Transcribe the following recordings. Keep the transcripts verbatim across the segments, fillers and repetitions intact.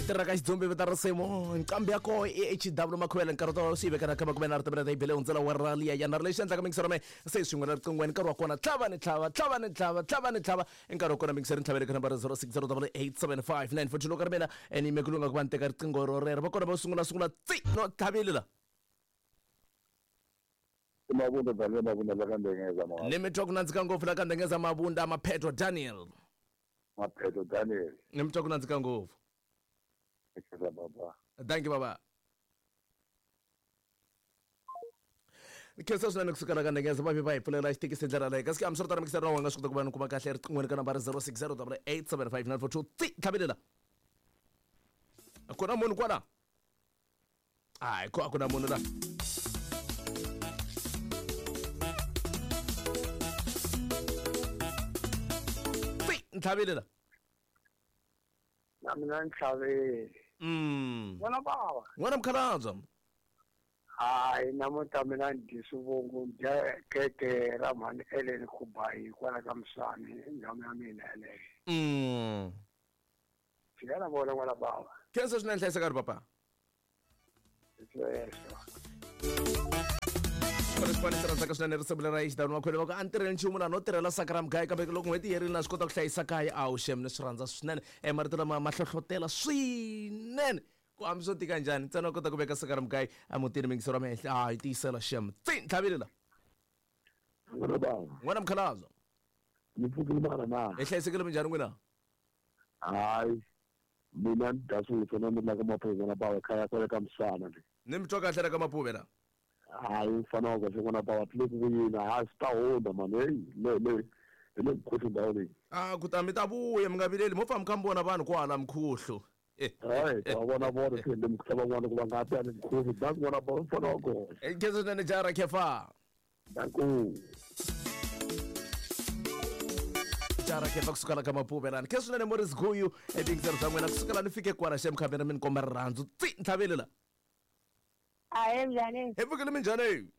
Tirha ka xidzumbi vita risimu nqambi ya koho i H W Makhuvele nkarhi to swi vekana ka makume na ri yi bele hundzela wa rali ya yana lexi endlaka mingisero me se swin'we na riqingweni nkarhi wa kona tlhava ni tlhava tlhava ni tlhava tlhava ni tlhava nkarhi wa kona mingisero ntlhavele ka nambara zero six zero double eight seven five nine four two loko ri mina ni yime ku lunga ku va ni teka riqingho ro rero va kona va sungula sungula tsi no tlhavile la Mabunda Daniel Mabunda la ka Ndengeza ma ni mi twa ku nandzika ngopfu la ka Ndengeza Mabunda Maphetho Daniel Maphetho Daniel ni mi twa ku nandzika ngopfu. Baba. Thank you baba. Khensa swinene kusuka la ka Ndengeza va va hi pfulela xitekisi ndlela leyi kasi hambi swi ri tano mikisero wa nga swi kota ku va ni kuma kahle riqingweni ka nambara zero six zero double eight seven five nine four two tsi tlhavelela ku na munhu kwala hayi ko a ku na munhu la tsi ntlhavelela na mina ntlhavele. Mm. N'wana bava. N'wana mukhalabye. Hayi namuntlha mina ni dyi swivongo dya keke ra mhani Ellen Khubayi kwala ka Musani ndhawu ya mina yeleyo. Mm. Fika na vona n'wana bava. Khensa swinene hlayiseka ri papa. Sweswo. Correspondent rhandzaka swinene risimu lera H W Makhwele va ku a ni tirheli nchumu laha no tirhela saka ra mugayo kambe loko n'hweti yi herile na swi kota ku hlayisa kaya a wu xem ni swi rhandza swinene e marito lama ma hlohlotela swinene ku hambi swo tika njhani ntsena u kota ku veka saka ra mugayo emutini mingisero wa mehenhla a yi tiyisela xem tsi ntlhavile la n'wana mukhalabye ni pfukile mara na hi hlayisekile minjhani n'wina hayi mina ni dya swilo na ni la ka Maphuve na bawa khaya kwale ka Musana le ni mi twa kahle la ka Maphuve la hayi mfana wa kahle n'wana bawa tlile ku vuyini hayi swi ta hundza mani heyi le le hi le mkhuhlu ndhawu leyi a ku ta mi ta vuya mi nga vileli mo famba mi kha mi vona vanhu kwala mkhuhlu hayi ta vona vona se le mkhuhlu van'wana ku va nga ta ni mkhuhlu danku n'wana bawa mfana wa kona khensa swinene jara khefa danku jara khefa kusuka la ka Maphuve lani khensa swinene Morris Guyu ebingisero bya n'wina kusuka la ni fike kwala xem khamera mi ni komba rirhandzu tsi ntlhavele la Ahe njhani? Hi pfukile minjhani?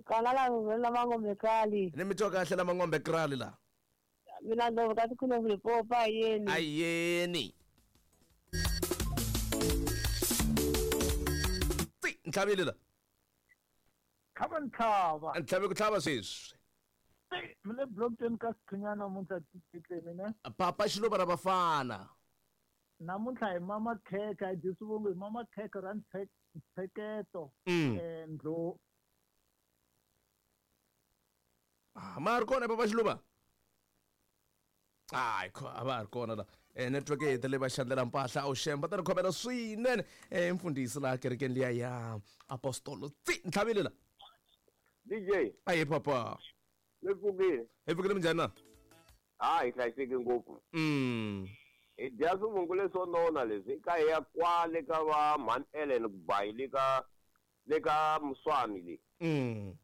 Kona la la Mangombe Krali. Ni mi twa kahle la Mangombe Krali la. Mina ndlovu ka tikhuno Limpopo ayeni. Ayeni. Tsi ntlhavile la. Tlhava ntlhava. Ntlhave ku tlhava sweswi. Mi le blockchain ka Sikhunyana namuntlha title mina. Papa Xiluva ra vafana. Namuntlha hi mama khekhe hi dyi swivongo hi mama khekhe ra ntsheketo eh ndlo ah ma ri kona Papa Xiluva hayi a va ri kona la eh network yi hetelele va xandlela mpahla a wu xemba ta ri khomela swinene eh mfundhisi laha kerekeni liya ya apostolo tsi ntlhavile la D J ayi papa mi pfukile hi pfukile minjhani na hayi hlayiseke ngopfu mm hi dya swivungu leswo nona leswi ka hi ya kwale ka va mhani Ellen Kubayi le ka le ka Muswani le mm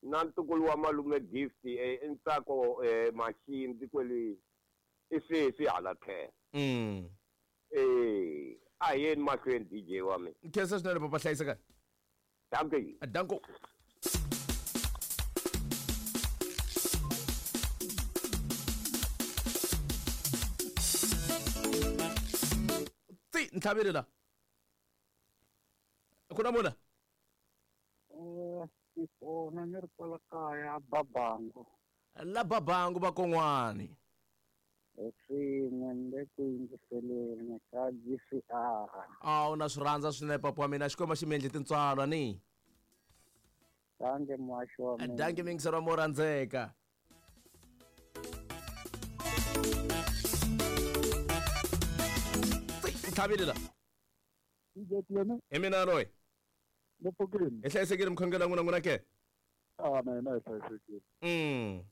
na ntukulu wa malume Gift e Ntsako Maxindzi kwele i sweswi hala tlhelo mm eh a hi yeni mahlweni D J wa mina khensa swinene papa hlayiseka danke danko tsi ntlhavele la ku na muna eh kona ni ri kwala kaya Babangu la Babangu va kon'wani swin'we ni le ku yingiseleni ka G C R a wu na swi rhandza swinene papa wa mina xikwembu xi mi endle tintswalo ni danke muhaxi wa mina danke mingisero mo rhandzeka ntlhavile la hi mina loyi ni pfukile hi hlayisekile mkhongelo wa n'wina n'wina ke a na hina hi hlayisekile mm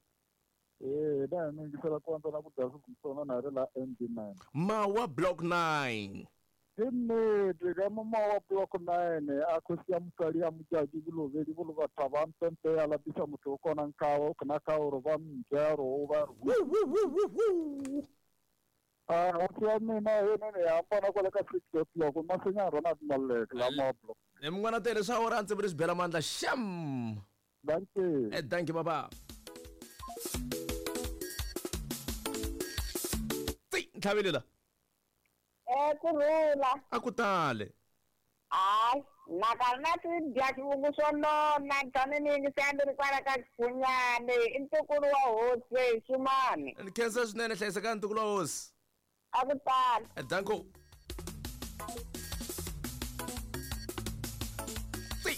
eh da ni yingisela kwanza na ku dya swivungu na ri la M D nine Mawa block nine Nnete ka mo Mawa block nine a khosi ya motswadi ya Mojaki ke lobedi bo le batho ba mpempe ya lapisa motho o kona nkao kana ka ore ba mjaro o ba re a o ya mina yena ne ya mpona kwale ka six o'clock masenya Ronald Malek la Mawa block ni mun'wana tele swa ora ntse ri swi bela mandla xam danke eh danke baba tsi ntlhavele la Eh kurhula. A ku tale. Hayi, nakona ti dya xivungu swo nona tani ni yingisela ri kwala ka Xikhunyane i ntukulu wa hosi Xumani. Ni khensa swinene hlayiseka ntukulu wa hosi. A ku tale. Danko.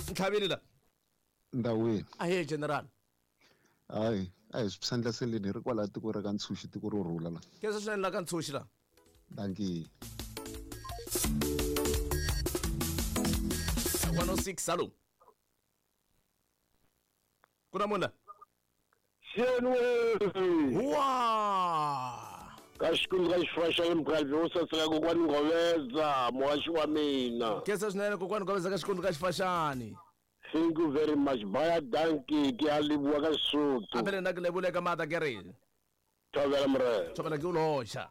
Ntlhaveli la. Ndawini. Ahe general. Hayi, a hi swi sandlaseleni hi ri kwala tiko ra ka Ntshuxi tiko ro rhula la. Khensa swinene la ka Ntshuxi la. Dankie. one oh six salo. Kuna mona. Xenwe. Wa. Ka xikundu ka xifaxa mukhalabye wo saseka kokwani Nghoveza muhaxi wa mina. Khensa swinene kokwani Nghoveza ka xikundu ka xifaxani. Thank you very much. Baya dankie ke a leboha ka Sesotho. Apele nna ke lebole ka maatla ke re. Thobela morena. Thobela ke o losha.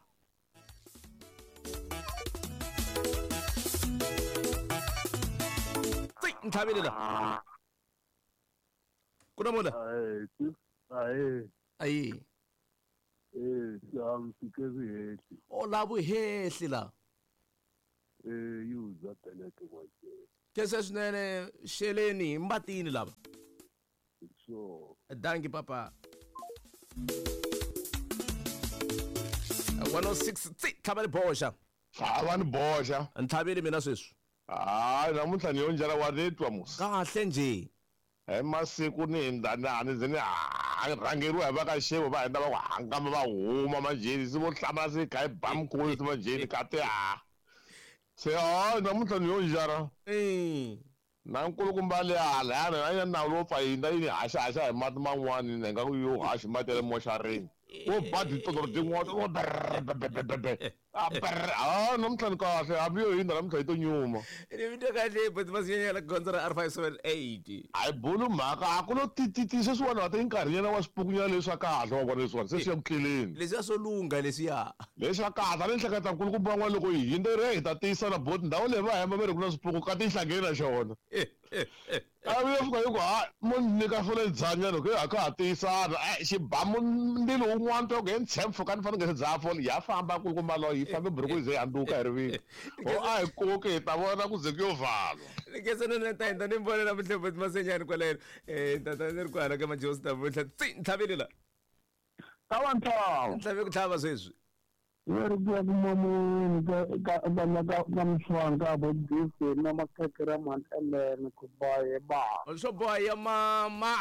Ntlhaveli la. Kuna mona. Ae, ae. Ae. Eh, am fike vuhehli. O la vuhehli la. Eh, yuza peleke kwa. Khensa swinene xeleni mbatini lava. So. Dankie papa. one oh six tlhava ni boxa. Tlhava ni boxa. Ntlhaveli mina sweswi. Hayi namuntlha ni yo njhani wa retwa musi. Kahle nje. Hi masiku ni hindza ni ni ze ni rhangeriwa hi va ka xevo va hindza va ku hangama va huma manjheni se vo hlamala se kha hi ba mukulu se manjheni ka ti ha. Se hayi namuntlha ni yo njhara. Na nkulukumba le hala yana a yi na nawu lowo pfa hindza yi ni haxahaxa hi mati man'wani ni nga ku yo haxi mati ya le moxarini. Wo ba titotoro tin'wana wo brrr a brrr ha namuntlha ni kahle hambi yo hindza namuntlha yi to nyuma. Ni vito kahle but masinyana gondzo ra R five seven eight. A hi bulu mhaka a ku lo tititi sweswiwani wa ti nkarhinyana wa swipukunyana leswa kahle wa vona leswiwani se swi ya ku tleleni. Leswiya swo lungha leswiya. Leswa kahle a ni hleketa nkulukumba van'wana loko hi hindza re hi ta tiyisana boti ndhawu leyi va hemba va ri ku na swipuku ka ti yi hlangene na xona. A vuya fika hi ku ha mo ni nyika fole dzanyana ku ha ka ha tiyisana xibamu ndzilo wun'wana to ku he ntshemfo ka ni fanele nge se dzaha fole ya famba nkulukumba loyi yi fambe buruku yi ze yi handuka hi rivilo o a hi koki hi ta vona ku ze ku yo valwa. Ni khensa ni ta hindza ni vona namuntlha boti Masenyani kwaleno eh tata ni ri kwala ka Majosi namuntlha tsi ntlhaveli la. Tlhava ntlhava. Ntlhave ku tlhava sweswi. Leri ku ya ku mamuni ka ka ka ka Mswanga bo Gift na makhekhe ra mhani Ellen ku boye ba. Swo boha ya mama.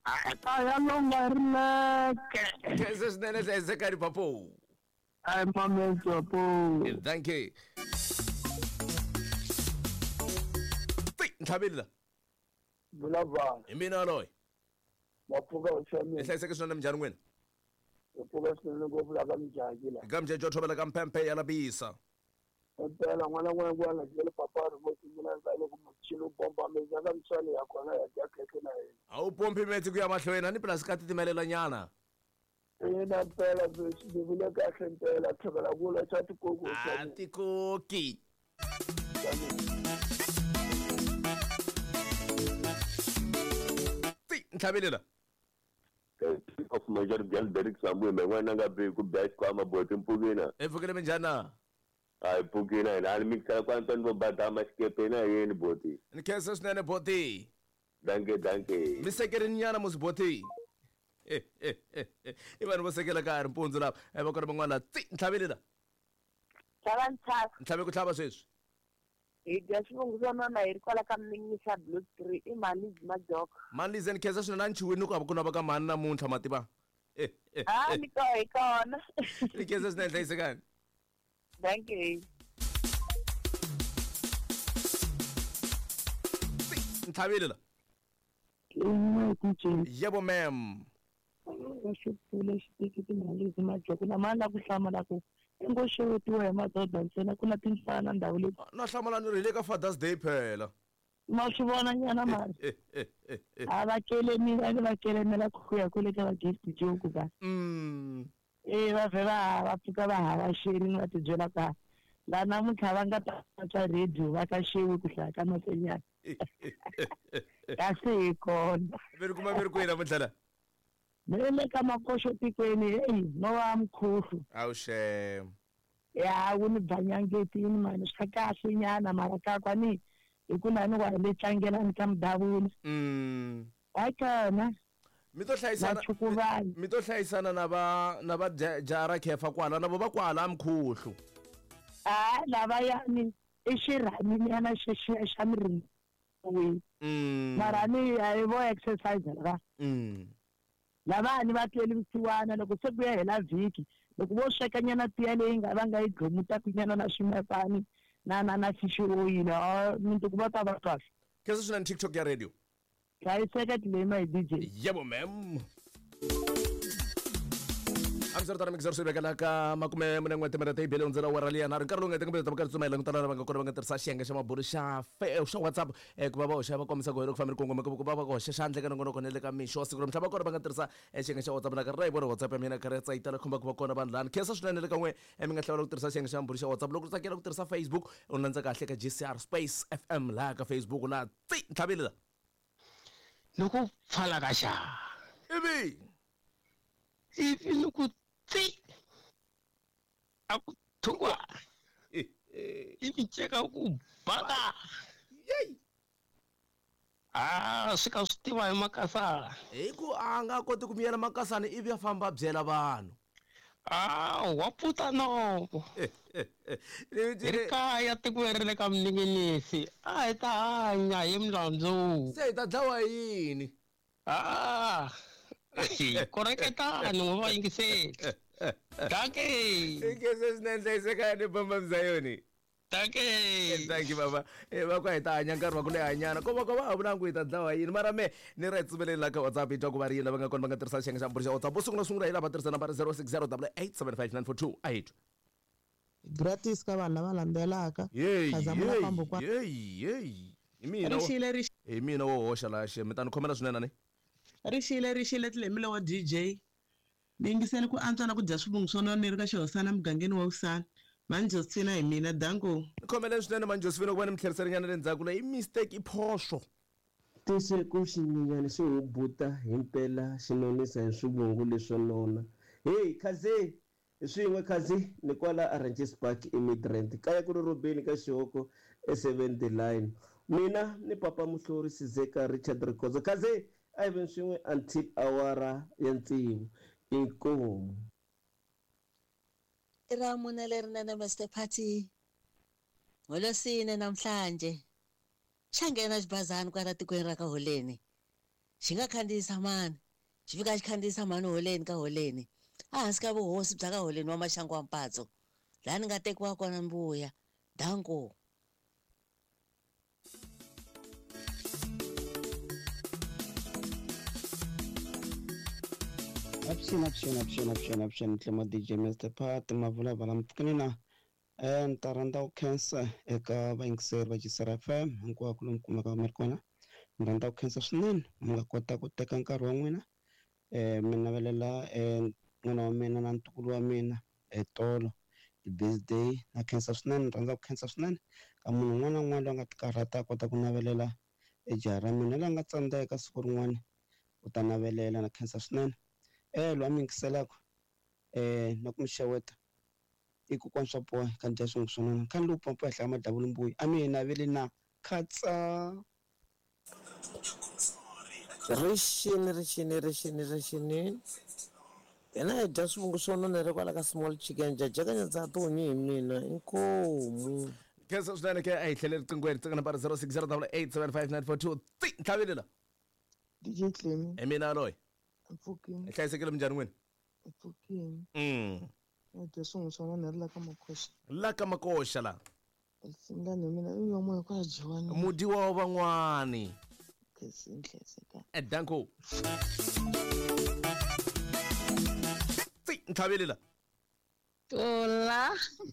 A ya longa ri leke. Khensa swinene hlayisekani papo. Ai mametso po. Thank you. Tsi ntlhaveli la. Vulavula. Hi mina loyi. Mapfuka u xamile. Hlayiseke swinene minjhani n'wina? Mapfuka swinene ngopfu la ka Mjaki la. Ka Mjaki wa thobela ka mpempe ya labisa. Impela n'wana n'wana n'wana byele papa ri mo sungula ndza loko muchini wu pompa metsi ya ka Mswani ya kona ya dya khekhe na yena. A wu pompi metsi ku ya mahlweni a ni pulasi ka titimelela nyana. Ina mpela sweswi ni vule kahle mpela thobela kula xa tikoki. A tikoki. Tsi ntlhaveli la. Of Major Girl Derek Samuel me n'wana nga be ku bya xikwama boti mpfukina. E pfukile minjhani na? A hi pfukina hina a ni mikisela kwa Antoine vo badama xikepe na yeni boti. Ni khensa swinene boti. Dankie dankie. Mi sekerini nyana musi boti. I vanhu vo sekela ka ha ri mpundzu lava va kona van'wana tsi ntlhaveli la. Tlhava ntlhava. Ntlhave ku tlhava sweswi. Hi dya xivungu swo nona hi ri kwala ka Mninisa Blue Tree i mhani Majoko. Mhani Lize ni khensa swinene a ni chuhile ni ku ku na va ka mhani namuntlha mativa. Ah ni ko hi kona. Ni khensa swinene hlayisekani. Thank you. Ntlhaveli la. Yebo ma'am. Xipfule xitiki timhani Lize Majoko na mani la ku hlamala ku ngo xewetiwa hi madoda ntsena ku na timfana ndhawu leyi. Na hlamala ni ri hi le ka Father's Day phela. Ma swi vona nyana mari. A va kelemile ni va kelemela ku ya kwele ka va Gift Joke ka. Mm. Eh va vhe va va pfuka va havaxeni va tibyela ka la namuntlha va nga ta twa radio va ka xewi ku hlaya ka Masenyana. Kasi hi kona. Mi ri kuma mi ri kwihi namuntlha la? Mi le ka makoxo tikweni heyi no wa mkhuhlu. Awu xem. Ya wu ni banyangetini mani swa kahle nyana mara ka kwani hi ku na ni wa le tlangelani ka mudavula. Mm. Wa mi to hlayisana mi to hlayisana na va na va jara khefa kwala na vo va kwala mkhuhlu. Ah lava yani i xirhami nyana xexiya xa mirini. Mm. Mara ni a vo exercise la. Mm. Lava ni va tweli vusiwana loko se ku ya hela vhiki loko vo sweka nyana tiya leyi nga va nga yi dlomuta kunyana na swimepani na na na fish oil a mintuku va ta va kahle. Khensa swinene TikTok ya radio. Hlayiseka tilema hi D J. Yebo ma'am. Amsar mixer swi vekela ka makume mune n'we timinete yi bele hundzela awara liya nharhu nkarhi lowu nga teka ta va tsumela ku tala lava nga kona va nga tirhisa xiyenge xa mabulu xa xa WhatsApp ku va va hoxa va kombisa ku hi loko fambile kongome ku va va hoxa xandla ka nongonoko na le ka mixo wa siku ra mhla va kona va nga tirhisa xiyenge xa WhatsApp na karhi ra yi vona WhatsApp ya mina karhi ya tsayitela khomba ku va kona vanhu lani khensa swinene le ka n'we mi nga hlawula ku tirhisa xiyenge xa mabulu xa WhatsApp loko u tsakela ku tirhisa Facebook u landza kahle ka G C R Space F M laha ka Facebook laha tsi ntlhavile la loko pfala ka xa ivi ivi loko tsi a ku thukwa ivi ceka ku baka a swi ka swi tiva hi makasana hi ku a nga koti ku miyela makasana ivi a famba a byela vanhu a wa puta nomo hi kaya tikweni ri le ka mninginisi a hi ta hanya hi milandzu se hi ta dlawa hi yini a koreketani n'we va yingiseli danke ikese swinene hlayiseka ni bomba mzayoni danke thank you baba va ku hi ta hanya nkarhi wa ku leha nyana ko va ko va ha vulangu hi ta dlawa yini mara me ni ra hi tsumeleni la ka WhatsApp hi twa ku va ri yini lava nga kona va nga tirhisa xiyenge xa mbulu xa WhatsApp vo sungula sungula hi lava tirhisa nambara zero six zero double eight seven five nine four two a hi twi gratis ka vanhu lava landzelaka yeyi yeyi yeyi hi mina hi mina wo hoxa laha xe mi ta ni khomela swinene ni rixile rixile tlemile wa D J ni yingisele ku antswa na ku dya swivungu swo nona ni ri ka xihosana mugangeni wa Usana mani Josefina hi mina danko ni khomeleni swinene mani Josefina ku va ni mi tlheriserinyana le ndzhaku leyi i mistake i phoxo tisiku xinyenyana xi hubuta himpela xi nonisa hi swivungu leswo nona hey khazi swin'we khazi ni kwala Oranges Park eMidrand kaya ku ri Robeni ka Xihoko e seventy line mina ni papa Muhlori Sizeka Richard Rikhozo khazi a hi veni swin'we until awara ya tsevu inkomu ra mune lerinene Mister Party ngolosine namhlanje xa nghena xibazana kwala tikweni ra ka Holeni xi nga khandziyisa mani xi fika xi khandziyisa mani Holeni ka Holeni ehansi ka vuhosi bya ka Holeni wa Maxangu wa Mpatso laha ni nga tekiwa kona mbuya danko. Avuxeni avuxeni avuxeni avuxeni avuxeni tlema D J Mister Pat mavulavala mpfukeni na eh ni ta rhandza ku khensa eka vayingiseri va G C R F M hinkwako lomu kumeka mi ri kona ni rhandza ku khensa swinene mi nga kota ku teka nkarhi wa n'wina eh mi navelela eh n'wana wa mina na ntukulu wa mina etolo ti-birthday na khensa swinene ni rhandza ku khensa swinene ka munhu un'wana na un'wana loyi a nga tikarhata a kota ku navelela ejaha ra mina loyi a nga tsandzeka siku rin'wana u ta navelela na khensa swinene eh loyi a mi yingiselaka eh na ku mi xeweta i kokwana swa boha ka dya swin'we swo nona khani lowu pompa henhla ka madavula mbuyi a mi hi naveli na khatsa rixini rixini rixini rixini hina hi dya swivungu swo nona ri kwala ka small chicken jajakanya ndza tihunyi hi mina inkomu khensa swinene ke a hi tlhele riqingweni tsaka nambara zero six zero double eight seven five nine four two tsi ntlhavile la D J Clemi hi mina loyi mpfukini hlayisekile minjhani n'wini mpfukini mm ni dya swin'we swa nona ri la ka makoxa la ka makoxa la singani mina i yomo hi ku ya dyiwa mudiwa wa van'wani khesinhleseka danko tsi ntlhavile la Tola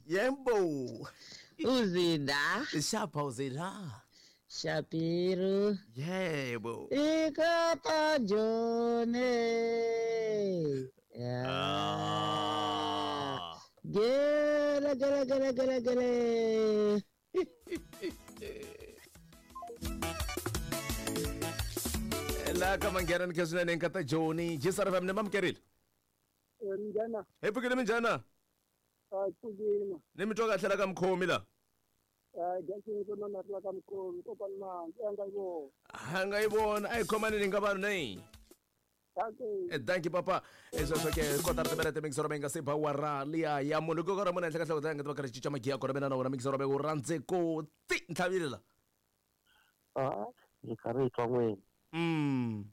yembo uzida shapa uzida Shapiro yebo ikata jone ah. Gele gele gele gele gele la ka manghena ni khe nkata Joni G C R F M ni mamkerile minjhana hi pfukile minjhana A pfukile. Ni mi twa kahle la ka mukhomi la? A dya swivungu swo nona ri la ka mukhomi kokwana Manzi a nga yi vona. A nga yi vona a hi khomaneni nga vanhu nei. Dankie. Dankie papa. Sweswo ke kotara timinete mixero mi nga se ba wara liya ya munhu ku ra munhu henhla ka nhloko nga ta va karhi cinca magiya kona mina na wona mixero u rhandze ku ti ntlhavile la. A hi karhi hi twa n'wini. Mm.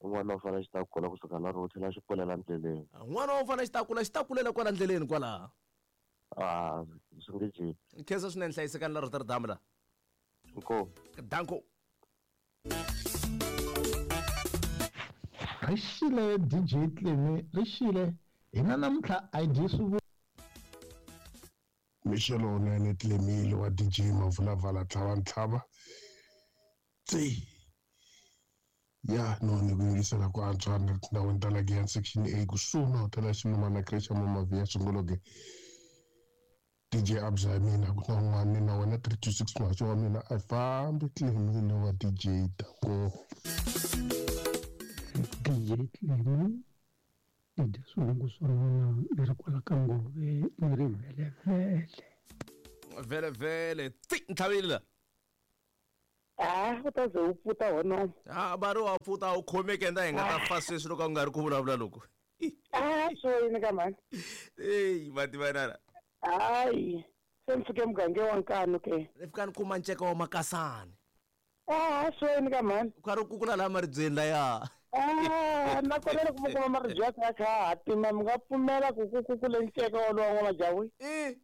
N'wana u fanele xi ta kula kusuka la ro tlhela xi kulela ndleleni. N'wana u fanele xi ta kula xi ta kulela kwala ndleleni kwala. Ah, swi nge jiki. Nkhensa swinene hlayisekani la Rotterdam la. Inkomu. Danko. Ri xile D J Cleme, ri xile hina namuntlha a hi dyi swivu. Mixelo wunene Clemile wa D J Mavulavala tlhava ntlhava. Tsi. Ya no ni ku yingisela ku antswa ni tindhawini ta la Giyani section A kusuhi na hotela ya Xilumana creche ya Mama Sungologe. D J Abza ya mina ku na un'wana na wena three two six muhaxi wa mina a fambi Clemile wa D J Danko. D J Cleme i dya swivungu swo nona ni ri kwala ka ngove ni ri vhelevhele. Vhelevhele ti ntlhavile la. Ah, u ta ze u pfuta hono. Ah, va ri wa pfuta u khomeke nda hi nga ta fa sweswi loko a ku nga ri ku vulavula loko. Ah, swo yini ka mhani? Eyi va tivanana. Hayi, se mi fike mugangeni wa Nkanu ke. Ni fika ni kuma nceka wa makasani. Ah, swo yini ka mhani? U karhi u kukula laha maribyeni laya. Ah, nakona loko mi kuma maribye ya kha kha hatima mi nga pfumela ku ku kukule nceka wolowo wa majawi? Eh.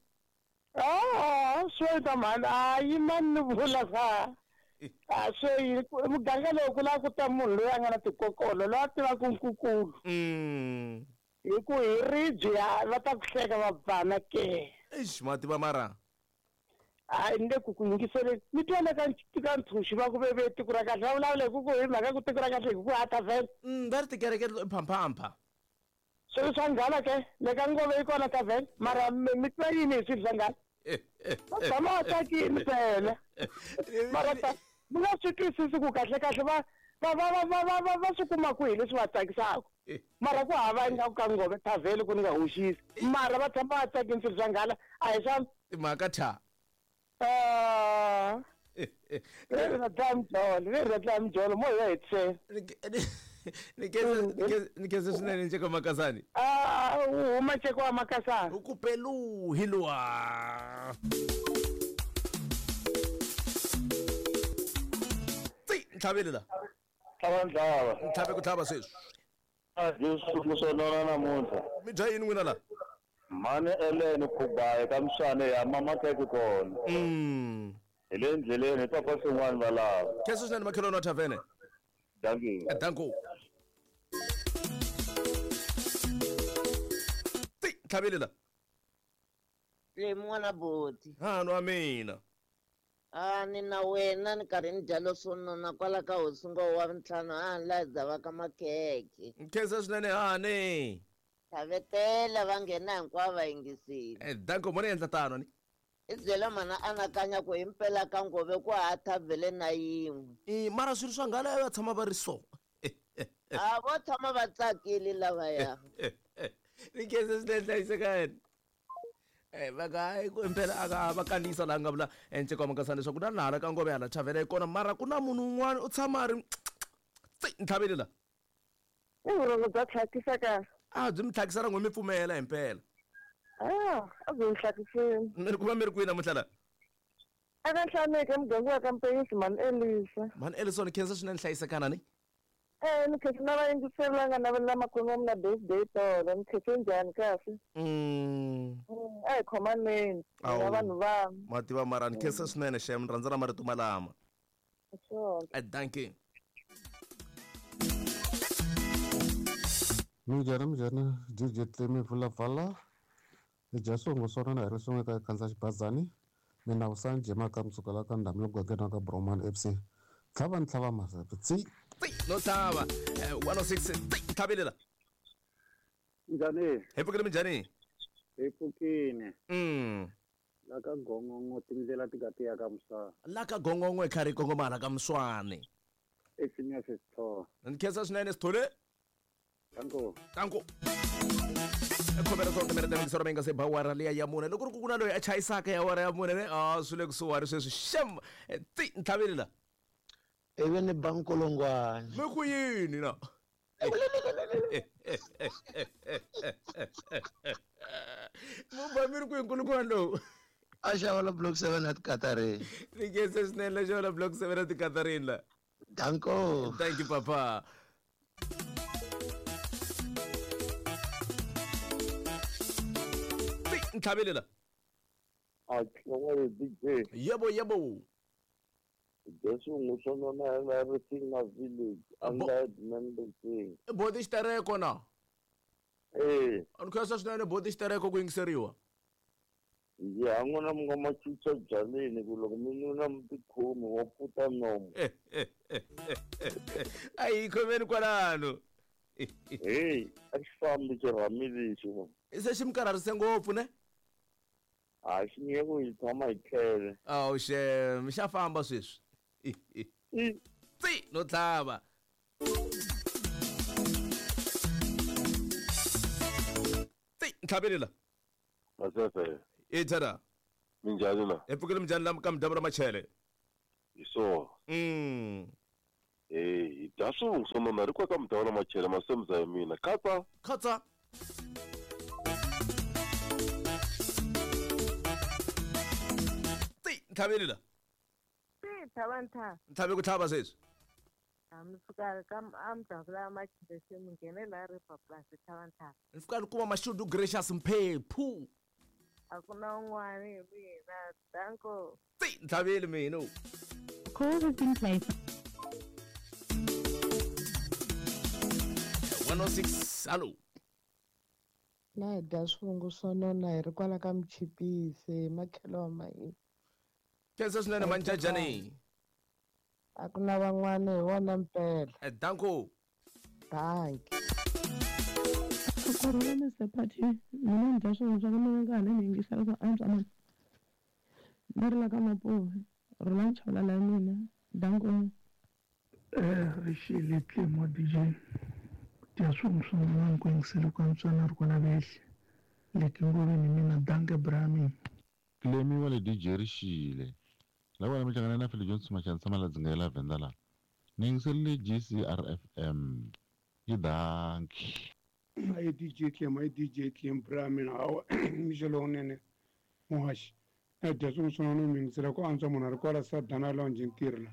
Ah, swo yini ka mhani? A yimani ni vula ka. A swo yini muganga lowu ku lava ku ta munhu loyi a nga na tikokolo loyi a tivaka nkukulu. Mm. Hi ku hi ribye va ta ku hleka va bana ke. Eish, ma tiva mara. Hayi ni le ku ku yingiseleni mi twa le ka ka ntshunxi va ku ve tiko ra kahle va vulavula hi ku ku hi mhaka ku tiko ra kahle hi ku hata vhele. Mm, va ri tikereke phamphampa. Swilo swa nghala ke le ka ngove yi kona tavhele mara mi twa yini hi swilo swa nghala? Va tshama va tsakile phela. Mara ta mi nga swi twisisi ku kahle kahle va va va va va va va swi kuma kwihi leswi va tsakisaka. Mara ku hava ingaku ka ngove tavhele ku ni nga hoxisi. Mara va tshama va tsakile swilo swa nghala a hi swa timhaka tha. Ah. Ri ra dlaya mijolo, ri ra dlaya mijolo mo hi ya hetisela. Ni khensa ni khensa swinene nceka wa makasani. Ah, u huma nceka wa makasani. U ku peluhi luwa. Tsi, ntlhavile la. Tlhava ntlhava. Ntlhave ku tlhava sweswi. A dyi swivungu swo nona namuntlha. Mi dya yini n'wina la? Mhani Ellen Khubayi ka Mswane ya mama khekhe kona. Mm. Hi le ndleleni hi papa swin'wana va lava. Khensa swinene makhelwani wa thavene. Dankie. Danko. Ti ntlhavile la. Le n'wana boti. Ha no wa mina. A ni na wena ni karhi ni dya leswo nona kwala ka hosi ngo wa ntlhanu a ni la dzava ka makhekhe. Nkhensa swinene hani. Tlhavetela va nghena hinkwavo va yingisile. Eh, danko mo ni endla tano ni. I byela mana anakanya ku himpela ka ngove ku ha thavhele na yin'we. I mara swilo swa nghala va tshama va ri so. A vo tshama va tsakile lavaya. Ni khensa swinene hlayisekani. Eh, va ka ku impela aka va kandziyisa laha nga vula nceka wa makasani leswaku na laha ka ngove hala thavhele yi kona mara ku na munhu un'wana u tshama a ri tsi ntlhavile la. I vurhongo bya tlhakisa ka. A byi mi tlhakisa ra n'we mi pfumela himpela. Ah, a byi mi tlhakisile. Mi ri kuma mi ri kwihi namuntlha la? Eka Nhlaneke muganga wa ka Mpeyisi mhani Elisa. Mhani Elison khensa swinene hlayisekana ni. Eh, ni khensa na vayingiseri la nga navelela makwenu wa mina birthday tolo. Ni khense njhani kahle? Mm. A hi khomaneni na vanhu van'we. Ma tiva mara ni khensa swinene xem ni rhandza na marito malama. Swona. Eh, dankie. Minjhani minjhani D J Cleme Vulavala. Hi dya swivungu swo nona hi ri swin'we ka khandziya xibazani. Mina Vusani Jema ka Msuka la ka Ndhambi mugangeni wa ka Broman F C. Tlhava ni tlhava mazapi tsi. Tsi no tlhava. one oh six tsi tlhavile la. Njhani? Hi pfukile minjhani? Hi pfukile. Mm. La ka Gongongo tindlela ti nga ti ya ka Mswane. La ka Gongongo hi karhi hi kongoma hala ka Mswane. I Phineas Sithole. Ni khensa swinene Sithole. Danko. Danko. Khomera swo timere ta soro menga se bawara liya ya mune loko ku na loyi a chayisaka ya wara ya mune ne a swi le kusuhani sweswi shem ti ntlhaveli la ivi ni ba nkulungwana mi ku yini na mu ba mi ri ku nkulungwana lowu a xava la block seven at Katarini ni khensa swinene la xava la block seven at Katarini la danko thank you papa ntlhaveli la a tlhongwe D J yebo yebo Jesu ngusonona everything na village under member thing bodi xitereko na eh ani khensa swinene bodi xitereko ku yingiseriwa ya n'wana mi nga ma chucha byaleni ku loko mi nuna mi tikhomi wa puta nomu a hi khomeni kwalano hey a xi fambi xirhami lexi se xi mi karharise ngopfu ne a xi nge ku hi tshama hi tlele awu xem xa famba sweswi tsi no tlhava tsi ntlhaveli la Masese e tara minjhani la hi pfukile minjhani la ka midambu ra machele hi swona mm eh hi dya swivungu swo nona ri kwa ka midambu ra machele masemza ya mina khatsa khatsa tsi ntlhaveli la tsi tlhava ntlhava ntlhave ku tlhava sweswi a mi fika ka a midambu la machele se mi nghene la river plus tlhava ntlhava ni fika ni kuma mashudu gracious mphephu a ku na un'wana hi mina danko tsi ntlhaveli mina Call has been placed. one oh six hallo Na hi dya swivungu swo nona hi ri kwala ka Mchipisi makhelo wa mahina khensa swinene manjajani a ku na van'wana hi wona mpela danko danki Kurhula Mister Party mina ni dya swivungu swa mina nga ni yingisela ku antswa mani ni ri la ka Mapuve rhula nchawula la mina danko eh rixile Tlemo D J dya swivungu swa nona ku yingisela ku antswa na ri kwala vehle leki ngoveni mina danke brami Tlemi wa le D J rixile la wena mi hlangana na Philip Johnson Machanisa Maladzinga ya la Venda la ni yingiserile G C R F M yi danki ayi D J Tlem ayi D J Tlem brami awa mixo lowunene muhaxi na dya swivungu swo nona mi yingisela ku antswa munhu a ri kwala Sadana Lounge ntirho la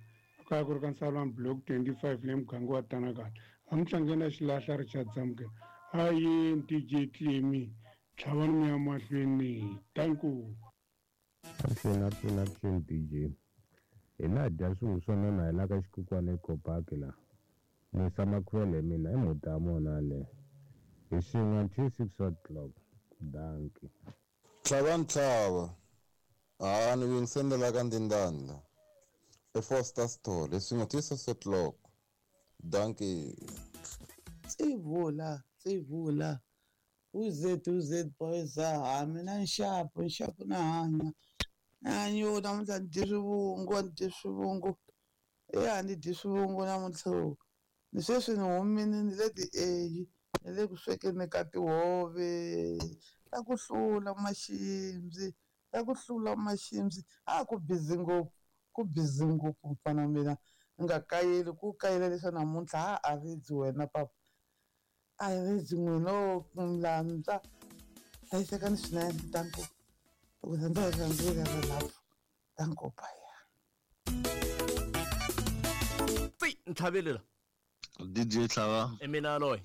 kaya ku ri ka Nsalwana block twenty-five le muganga wa Tanakala a mi tlangeni na xilahla Richard Zamukela ayi D J Tlemi tlhavani mi ya mahlweni danku Avuxeni avuxeni avuxeni D J hina dya swivungu swo nona hi la ka xikukwana eCopaki la Musa Makhwele mina i mhuta ya mona le hi swin'we until six o'clock danki Tlhava ntlhava a ni yingisendela ka ndindanda e Foster Store hi swin'we till six o'clock danki Tsivula tsivula uzet uzet boys ha mina nxapu nxapu na hanya hanyo namuntlha ni dyi swivungu ni dyi swivungu eya ni dyi swivungu namuntlha ni sweswi ni humini ni le ti-A ni le ku swekeni ka tihove ta ku hlula maximzi ta ku hlula maximzi a ku busy ngopfu ku busy ngopfu mfana wa mina ni nga kayeli ku kayela leswa namuntlha ha a ridzi wena papa a ridzi n'wina mlandza hlayisekani swinene danko ku rhandza hi rhandzile rilapfu danko baya tsi ntlhaveli la D J Tlhava i mina loyi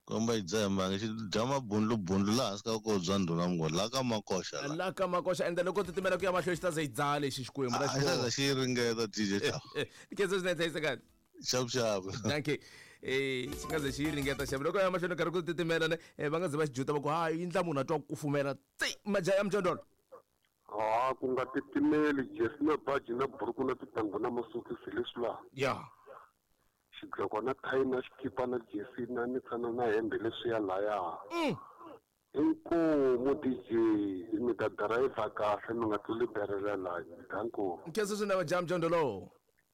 komba yi dzaha mbangi xi dya mabundlubundlu laha hansi ka ko bya ndhuna mngoni la ka makoxa la ka makoxa ende loko titimela ku ya mahlweni xi ta ze yi dzaha lexi xikwembu la xi za xi ringeta D J Tlhava khensa swinene hlayisekani xavu xavu danki eh xi nga ze xi ringeta xavu loko ya mahlweni karhi ku titimela ne va nga ze va xi juta va ku ha yi ndla munhu a twa ku kufumela tsi majaha ya mjondolo ha ku nga titimeli jesi na baji na buruku na tintangu na masokisi leswi laha ya xidloko na thayi na xikipa na jesi na mitsana na hembe leswiya laya inkomu D J mi ta dirayivha kahle mi nga tluli berela laha danko nkhensa swinene majaha mjondolo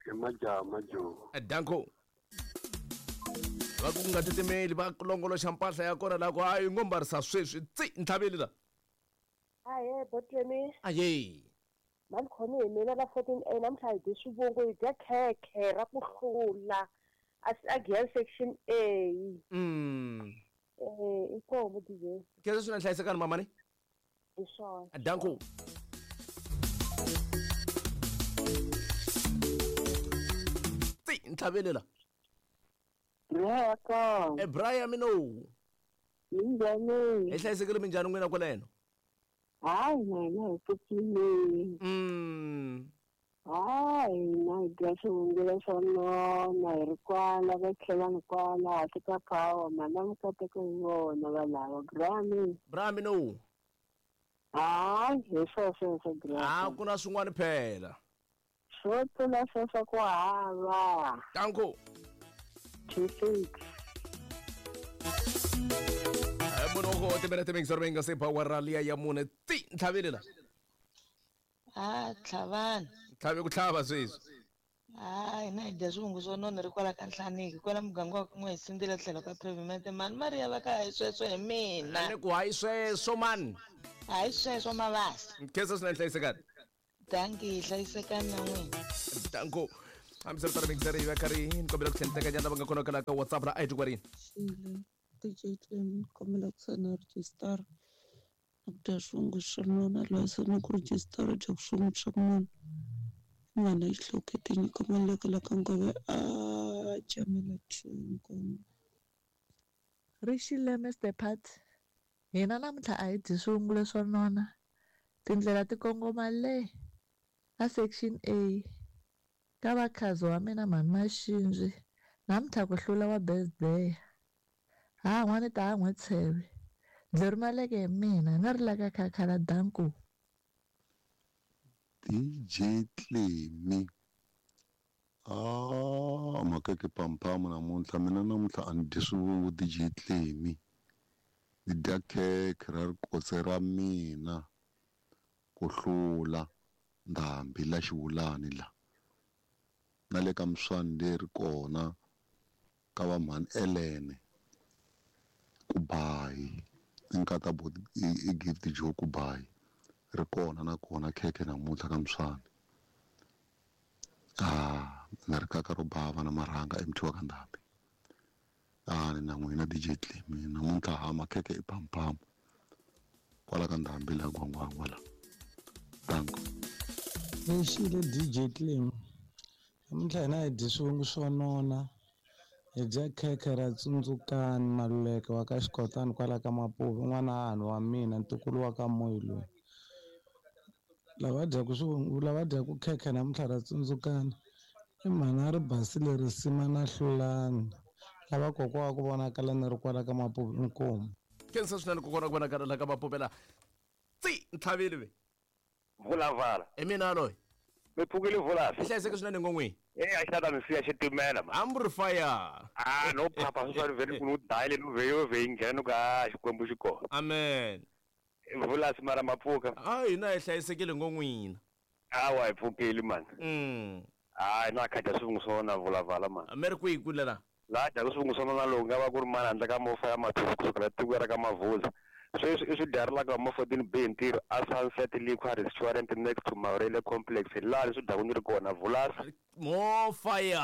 i majaha majo danko Va ku nga titimeli va longoloxa mpahla ya kona la ku hayi ngo mbarisa sweswi tsi ntlhaveli la. Ahe botlemi. Aye. Mani khomi hi mina la fourteen A namuntlha hi dye swivungu hi dya khekhe ra ku hlula a Giyani section A. Mm. Eh inkomu D J. Khensa swinene hlayisekani mamani. Hi swona. Danko. Tsi ntlhaveli la. Yebo. Eh Brian mino. Minjhani? Hi hlayisekile minjhani n'wina kwaleno? Hayi na hi pfukile. Mm. Hayi na hi dya swivungu swo nona hi ri kwala va tlhelani kwala hansi ka power mana mikateko hi vona valava Brian. Brian mino. Hayi hi swo sweswo Brian. Ah ku na swin'wana phela. Swo tlula sweswo ku hava. Danko. Two six. Munhu timinete mingi sori mingi se power rally ya mune ti ntlhaveli la. Ah tlhavana. Tlhave ku tlhava sweswi. Ah hina hi dya swivungu swo nona ri kwala ka Nhlaniki kwala muganga wa kun'we hi sindzile tlhelo ka pavement mani Maria va ka hayi sweswo hi mina. Ni ku hayi sweswo mani. Hayi sweswo mavasa. Nkhensa swinene hlayisekani. Dankie hlayisekani na n'wina. Danko. Hambiswiritano mingi ri va karhi ni kombela ku tlhela ni teka nyana lava nga kona kwala ka WhatsApp ra I D kwarini. D J Clem kombela ku sana register na ku dya swivungu swa nona loyi se na ku register dya swivungu swa munhu n'wana yi hlokete nyiko maleka la ka ngove a jamela two nkomo. Rixile Mister Pat hina namuntlha a hi dyi swivungu leswo nona tindlela ti kongoma le a section A ka vakhazi wa mina mhani Maxinzwi namuntlha ku hlula wa birthday ha n'wana ta ha n'wi tsheve dleri maleke hi mina nga ri la ka khakhala danku. D J Clemi ah makeke pampamu namuntlha mina namuntlha a ni dyi swivungu D J Clemi ni dya khekhe ra rikotse ra mina ku hlula ndhambi la xivulani la na le ka miswani leri kona ka va mhani Elene kubayi nkata bo i gift jo kubayi ri kona na kona khekhe namuntlha ka miswani ah na ri kaka ro bava na marhanga emthiwa ka ndhambi ah ni na n'wina D J Clemi namuntlha ha makhekhe i pampamu kwala ka ndhambi la gwangwangwa la danko. Lexile D J Clemi namuntlha hina hi dyi swivungu swo nona hi dya khekhe ra tsundzukani Maluleke wa ka Xikotani kwala ka Mapuve n'wana hahani wa mina ntukulu wa ka Moyi loyi lava dyaku swivungu lava dyaku khekhe namuntlha ra tsundzukani i mhani a ri basile risima na hlulani lava kokwa wa ku vonakala ni ri kwala ka Mapuve inkomu. Khensa swinene kokwana ku vonakala la ka Mapuve la tsi ntlhaveli ve. Vulavala. I mina loyi. Mi pfukile Vulasi. Hi hlayiseke swinene ngon'wini. Eh a xi ta mi siya xitimela ma. Ambu fire. Ah no phapha swi swa vele ku no dayile no veyo ve nghena ka Xikwembu xi kona. Amen. Vulasi mara mapfuka. Ah hina hi hlayisekile ngon'wina. Awa hi pfukile man. Mm. Ah na kha dya swivungu swo na Vulavala man. Mi ri kwihi kule la? La dya swivungu swo na lowu nga va ku ri mani handle ka mofa ya mathuku kusukela tiko ra ka Mavuza. Sweswi i swi dyarilaka ma fourteen B ntirho a Sunset Liquor Restaurant next to Maurele Complex laha swi dyaku ni ri kona Vulasi. More fire.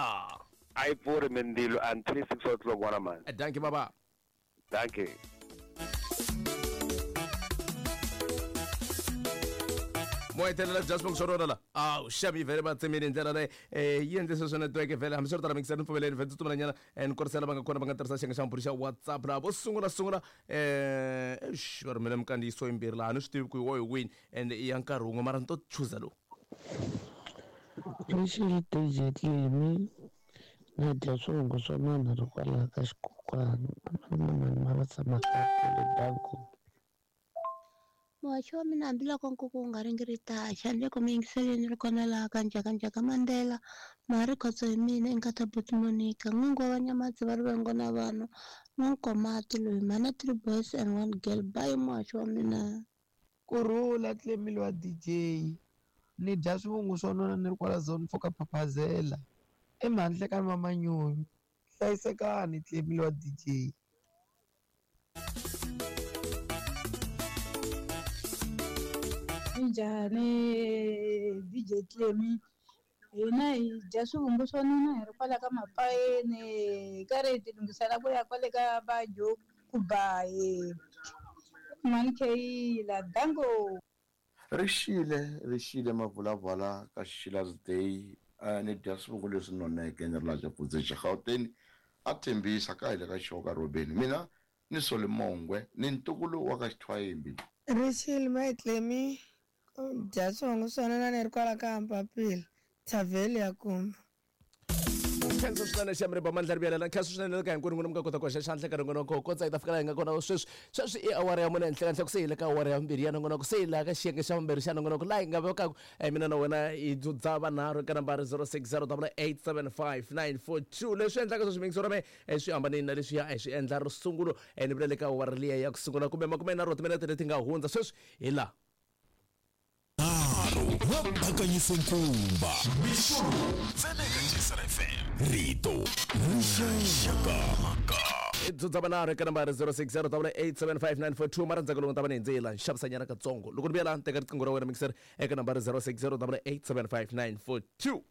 A yi pfuri mindzilo until six o'clock n'wana mani. Dankie baba. Dankie. Mo hetelela bya swivongo swo rona la awu xavi vhele va tsemile hi ndlela leyi um yi endle sweswo network vhele hambiswiritano mingiseni pfumeleni vhele tsutsumela ni korisela va nga kona va nga tirhisa xiyenge xa mabulu xa WhatsApp laha vo sungula sungula um exi va rhumele minkandziyiso yimbirhi laha ni swi tivi ku hi wo hi wini and i ya nkarhi wun'we mara ni to chuza lowu. Lexi D J Clemi na dya swivungu swa nona ri kwalaho ka xikokwani mani ma va tshamaka kule danko. Muhaxi wa mina hambiloko nkuku wu nga ringiritaka ni le ku mi yingiseleni ri kona laha ka Njhakanjhaka Mandela Mari Khotso hi mina i nkata buti Monica n'wingi wa Vanyamatsi va rivengo na vanhu n'wankomati loyi mhana three boys and one girl bayi muhaxi wa mina. Kurhula Clemile wa D J ni dya swivungu swo nona ni ri kwala zone four ka Phaphazela emhandle ka Mamanyoni Hlayisekani Clemile wa D J. Njhani D J Clemi? Hina hi dya swivungu swa nona hi ri kwala ka mapayeni hi karhi hi ti lunghisela ku ya kwale ka va Jokubayi Mani Kayila dango. Rixile rixile mavulavala ka Xila's Day uh, ni dya swivungu leswi noneke ni ri laha Xafudzeni Gauteng a tshembisa ka hile ka xoka Robeni mina ni Sole Mongwe ni ntukulu wa ka Xithwayimbi. Rixile Maitlemi dya swivungu swa nona ni ri kwala ka Mpapila Thavheli ya Kumba. Khensa swinene xiyamiriba mandla ri vuyelela khensa swinene ka hinkwenu n'wina mi nga kota ku hoxa xandla ka nongonoko kotsa hi ta fika laha hi nga kona sweswi sweswi i awara ya mune henhla kahle ku se hi le ka awara ya vumbirhi ya nongonoko se hi laha ka xiyenge xa vumbirhi xa nongonoko laha hi nga vekaka mina na wena hi dzudza vanharhu eka nambara zero six zero double eight seven five nine four two leswi endlaka sweswi mingiso ra mehe swi hambanile na leswiya a hi swi endla ro sungulo ni vula le ka awara liya ya ku sungula kumbe makume nharhu wa timinete leti nga hundza sweswi hi laha va bakanyise nkumba mixo tseneka G C R F M rito rixaka dzudza vanharhu eka nambara zero six zero double eight seven five nine four two mara ndzhaku loko ni ta va ni hindze la xavisanyana katsongo loko ni vuya laha ni teka riqingho ra wena mixer eka nambara zero six zero double eight seven five nine four two.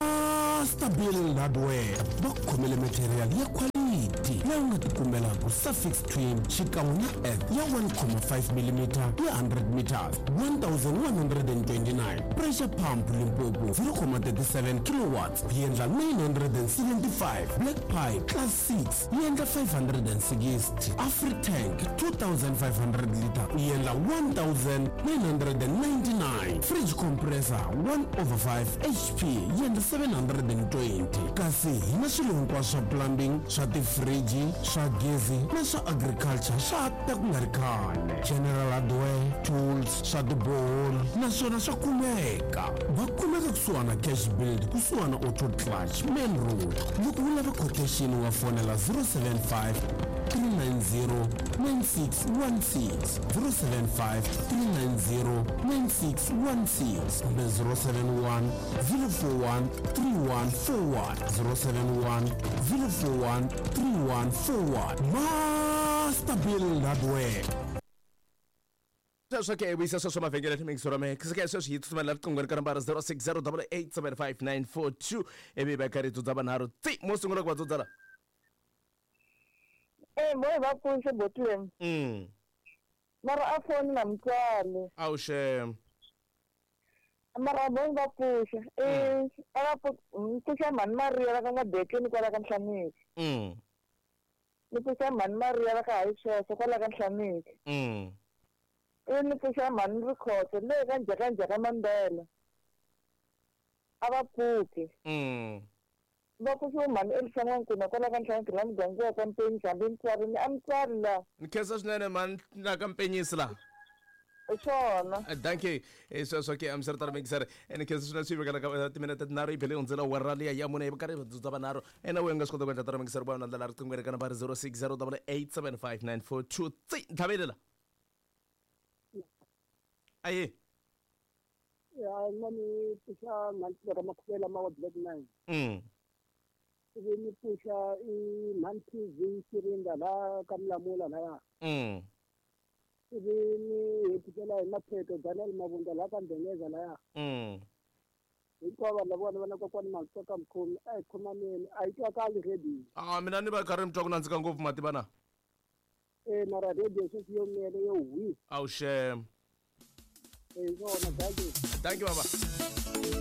Master Build Hardware va khomele material ya quality leyi u nga tikumelaka suffix twin xikan'we na F ya one point five millimeter ya hundred meters one thousand one hundred and twenty-nine pressure pump Limpopo zero point three seven kilowatts yi endla nine hundred and seventy-five black pipe class six yi endla five hundred and sixty Afritank two thousand five hundred liter yi endla one thousand nine hundred and ninety-nine fridge compressor one over five H P yi endla seven hundred and twenty kasi hi na swilo hinkwaswo swa plumbing swa tifriji swa gezi na swa agriculture swa ta ku nga ri khale general hardware tools swa tiboholi naswona swa kumeka va kumeka kusuhana cash build kusuhana auto clutch main road loko u lava quotation wa fonela zero seven five three nine zero nine six one six zero seven five three nine zero nine six one six kumbe zero seven one zero four one three one four one zero seven one zero four one three one four one Master Build Hardware. Sweswo ke vuyisa sweswo mavhengele mixo ra mehe ke sweswi hi tsutsumela riqingho ka nambara zero six zero double eight seven five nine four two ivi va karhi dzudza vanharhu tsi mo sungula ku va dzudza la Eh mo va pfunxe botleng mm mara a foni na mutswari awuxe mara bo va pfuxa eh a va pfuxa mhani Maria va ka N'wabekeni kwala ka Nhlaniki mm ni pfuxa mhani Maria va ka Hayi sweswo kwala ka Nhlaniki mm ivi ni pfuxa mhani Rikhotso le ka Njhakanjhaka Mandela a va pfuki mm va pfuxiwe mhani Elisa N'wankuna kwala ka Nhlaniki la muganga wa ka Mpenyisi hambi mutswari ni a mutswari la ni khensa swinene mhani la ka Mpenyisi la swona danke sweswo ke amisari mixer ni khensa swinene swi vekela ka timinete tinharhu yi bele hundzela awara liya ya mune hi karhi dzudza vanharhu ena we nga swi kota ku endla tara mixer va na ndlela riqingho eka nambara zero six zero double eight seven five nine four two tsi ntlhavelela aye ya na ni pfuxa mhani ra makhuvela ma wa black nine mm ivi ni pfuxa i mhani T V Xiringa laha ka Mlamula laya mm ivi ni hetisela hi Mapheto Daniel Mabunda laha ka Ndengeza laya mm hinkwavo vanhu lavona va na kokwani Matsoka Mkhomi a hi khomaneni a yi twakali radio ah mina ni va karhi mi twa ku nandzika ngopfu mativa na e mara radio sweswi yo mele yo hwi awuxe e swona thank you thank you baba